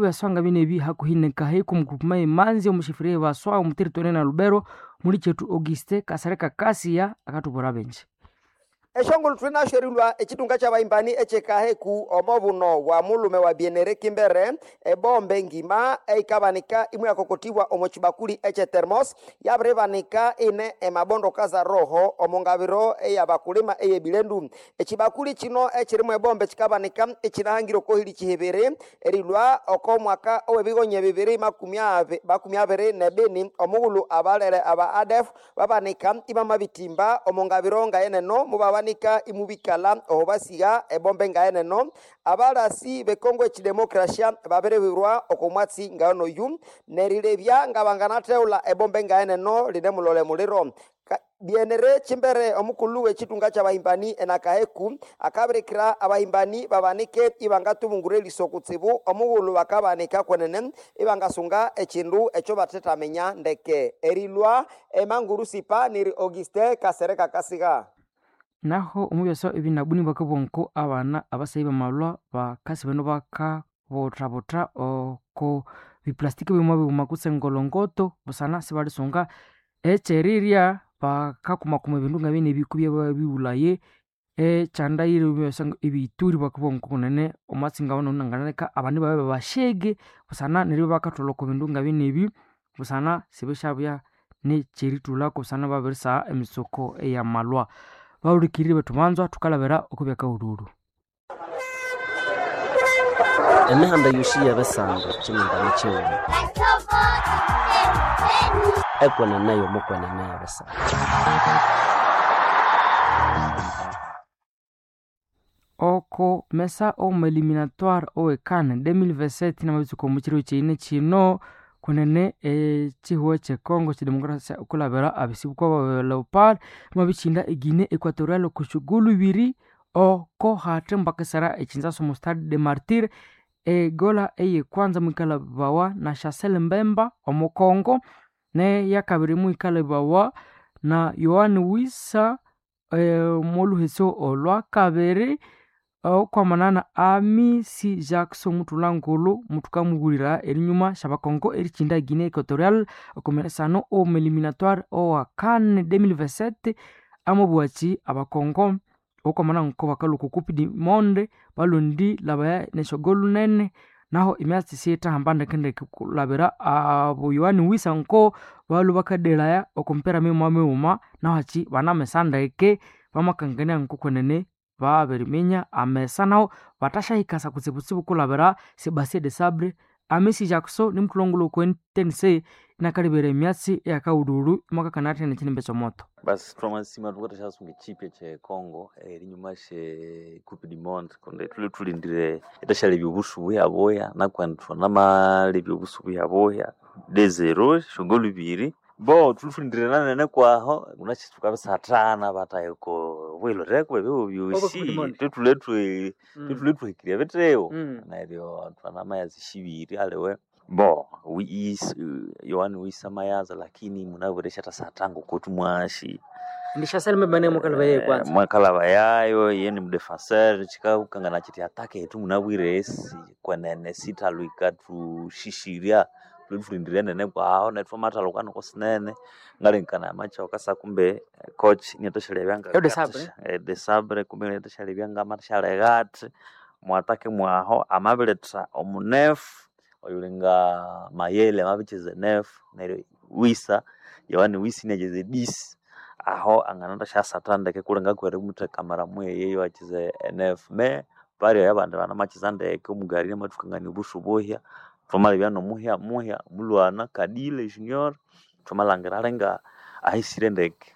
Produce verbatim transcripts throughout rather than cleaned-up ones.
Byaswanga binebi hakuhi nekaheku omugroupement emanzi omushifiri ebaswa omu territory na Lubero muli kyetu Auguste Kasereka Kasia akatubwira bingi. Eshongolo thunasherilwa echitunga ky'abahimbani ekyekaheku omo buno bwa mulume wa Bienere Kimbere ebombe ngima eikabanika imwe yakokotibwa omo kibakuli ekye thermos yabiribanika ine emabondo kaza roho omo ngabiro eyabakulima eyebilendu. Ekibakuli kino ekirimu ebombe kikabanika ekinahangire okohili kihibiri erilwa oko mwaka owebigonya bibiri makumi abi- makumi abiri nebini omughulu abalere aba A D F babanika ibamabitimba omo ngabiro ngayeneno mubabanika imubikala oho basiga ebombe ngayeneno. Abalasi bekongo ekidemokrasia babiribirwa oko mwatsi ngaonoyu nerilebya ngabanganatheula ebombe ngayeneno line mulole muliro. Ka- Bienere Chimbere omukulu w'ekitunga ky'abahimbani enakaheku akabirikira abahimbani babanike ibangatubungura eriso kutsibu omughulu bakabanika kwenene ibangasunga ekindu ekyo bathethamenya ndeke. Erilwa emanguru sipa niri Auguste Kasereka Kasiga. Naho omubyasa ebinabuni bakabonko abana abasayi bamalwa bakasi bano bakabothabotha oko biplastiki bimwe bighuma kutse engolongoto busana sibalisunga ekyerirya bakakumakuma ebindu ngabine ebikubya babighulaye ekyandayire ebyasa ebiyituri bakabonko kunene omwatsi ngawuno nanganaleka abandi babe babashege busana neryo bakatholha oko bindu ngabine ebi busana sibisyabya nekyeritulhako busana babirisagha emitsuko eyamalwa. Bahulikirire bethu banzwa thukalabira okwa byakahululu. Emihanda yosi y'ebisando kyimindani kyighuma ekwenene y'omukwenene y'ebisando. Oko mesa omu eliminatoire owe CAN dois mille vingt-sept namabitsuka omu kiro kyine kino kunene ekihugho ekye Congo kyedemokrasia okulabira abisibuko ba Leopard mwabikinda e Guinea Equatorial oko syogolu ibiri oko hathi mbakisera ekinzaso omu Stade de Martyr. Egola eyekwanza mwikalhabawa na Chancel Mbemba omu Congo neyakabiri mwikalhabawa na Yoane Wissa omwolhuhesi olwakabiri okwamanana Amisi Jackson muthulha-ngulhu muthukamughulira erinyuma syabakongo erikinda Guinea Equatorial okomeresano omu eliminatoire owa CAN dois mille vingt-sept amabughachi abakongo okwamana nko bakalhwa oko coupe du monde balondi labaya nesyogolu nene naho emyatsi siyithahamba ndekendeke kulabira abo Yoane Wissa nko balhwa bakadelaya oko mipira mighuma mighuma naho hachi banamesa ndeke bamakangania ngokwenene babiriminya amesa naho bathasyahikasa kutsibutsibu kulabira Sebastien Desabre. Amisi Jackson nimuthulhangulhu oko N T N C inakalebera emyatsi eyakahululu imwakakana athene ekyinimbi ekyomoto. Basi twamasima thukathasyasunga ekyipya kye Congo erinyuma sye coupe du monde kundi thulwe thulindire ithasyalepya obusu buyabuya nakwandi thwanamalebya obusu buyabuya de zero syogolu ibiri bo thulwe thulindire nanene kwaho munasi thukabisathana batahika obwilhireko ebyo byosi thwithulwe thwithulwe thuhikirye bitsibu neryo thwanamayaza esyibiri aliwe bo Yohane Wissa amayaza lakini munabwire isyathasatha ngoko thumwasi Ndi Chancel Mbemba niye mwakalhabayayo kwanza. mwakalhabayayo iye ni mudefenseur kyikakangana kyithi ataka yethu munabwire kwenene sithalhwa yikathushishirya thulwe thulindire nene kwaho neryo thwamathalhuka noko sinene ngalengekanaya amakyoka kumbe coach iniathasyalebya Yo Desabre. Desabre kumbe iniathasyalebya ngamathasyaleka athi mwatake mwaho amabiretha omunefu oyulinga Mayele amabikyeza enefu neryo Wissa Yohane Wissa iniakyeza edisi aho anganathasyasatha ndeke kulenga kwerimutheka mara mweye iwakyeza enefu me pali abandi banamakyeza ndeke omugari inamathukangania obusu buhya thwamalebya nomuhya muhya mulwana Kadile Junior thwamalhangira alinga ahisire ndeke.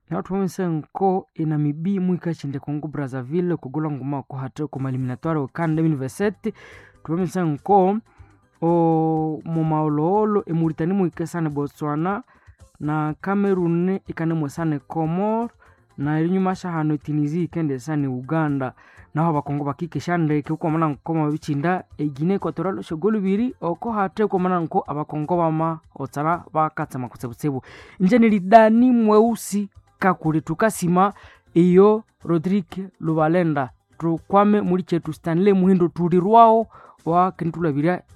Naho thwamabisa nko eNamibia muhikakindi Congo Brazzaville okugulha nguma oko hathi okwa eliminatoire we CAN dois mille vingt-sept thwamabisa nko mumawolowolo eMauritania muhikasana Botswana na Cameroon ikanemwesana Comor na erinyuma syahano eTunisia yikendesana Uganda. Naho abakongo bakikesya ndeke okwamana nko bamabikinda eGuinea Equatorial esyogolu ibiri oko hathi okwamana nko abakongo bamahotsana bakatsema kutsibutsibu. Ingye niri Dani Mweusi Kakule thukasima iyo Rodrigue Lubalenda thukwame muli kyethu Stanley Muhindo thulirwaho wakenditulabirya.